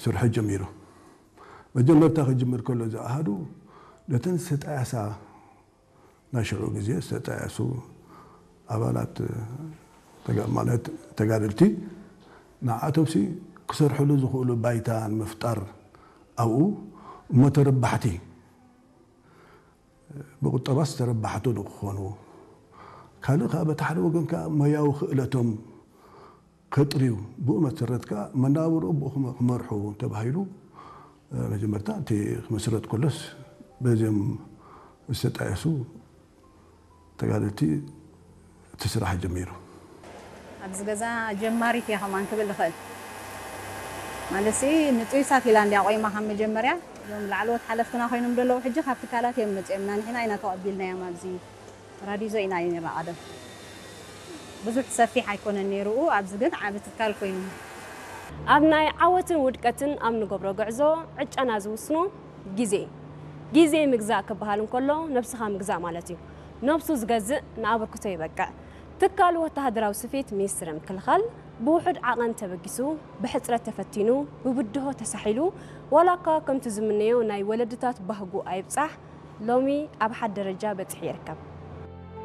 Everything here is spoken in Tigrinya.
ስርሑ ጀሚሩ። መጀመርታ ክጅምር ከሎ እዚ ኣሃዱ ነተን ዝተጣየሳ ናይ ሽዑ ግዜ ዝተጣየሱ ኣባላት ተጋ- ማለት ተጋደልቲ ንዓኣቶምሲ ክሰርሕሉ ዝኽእሉ ባይታ ንምፍጣር ኣብኡ እሞ ተረባሕቲ ብቁጠባስ ተረባሕቱ ንክኾኑ ካልእ ከዓ በቲ ሓደ ወገን ከዓ ሞያዊ ክእለቶም ከጥርዩ ብኡ መሰረት ከዓ መናብርኡ ብኡ ክመ- ክመርሑ ተባሂሉ መጀመርታ እቲ ክምስረት ከሎስ በዚኦም ዝተጣየሱ ተጋደልቲ እቲ ስራሕ ጀሚሩ። ኣብዚ ገዛ ጀማሪት እየ ከማን ክብል እኽእል። ማለትሲ ንጥዩሳት ኢላ እንድያ ቆይማ ካብ መጀመርያ እዞም ላዕለዎት ሓለፍትና ኮይኖም ዘለዉ ሕጂ ካብ ትካላት እዮም መፂኦምና ንሕና ኢና ተቐቢልናዮም ኣብዚ ራዲዞ ኢና እዩ ነይራ ቀደም ብዙሕ ሰፊሕ ኣይኮነን ነይሩኡ ኣብዚ ግን ዓቢ ትካል ኮይኑ ኣብ ናይ ዓወትን ውድቀትን ኣብ ንገብሮ ጉዕዞ ዕጫና ዝውስኖ ግዜ ግዜ ምግዛእ ክበሃል እንከሎ ነብስኻ ምግዛእ ማለት እዩ። ነብሱ ዝገዝእ ንኣበርክቶ ይበቅዕ። ትካል ወተሃደራዊ ስፌት ሚኒስትሪ ምክልኻል ብውሑድ ዓቐን ተበጊሱ፣ ብሕጽረት ተፈቲኑ፣ ብብድሆ ተሳሒሉ፣ ዋላ እኳ ከምቲ ዝምነዮ ናይ ወለድታት ባህጉ ኣይብጻሕ፣ ሎሚ ኣብ ሓድ ደረጃ በጺሑ ይርከብ።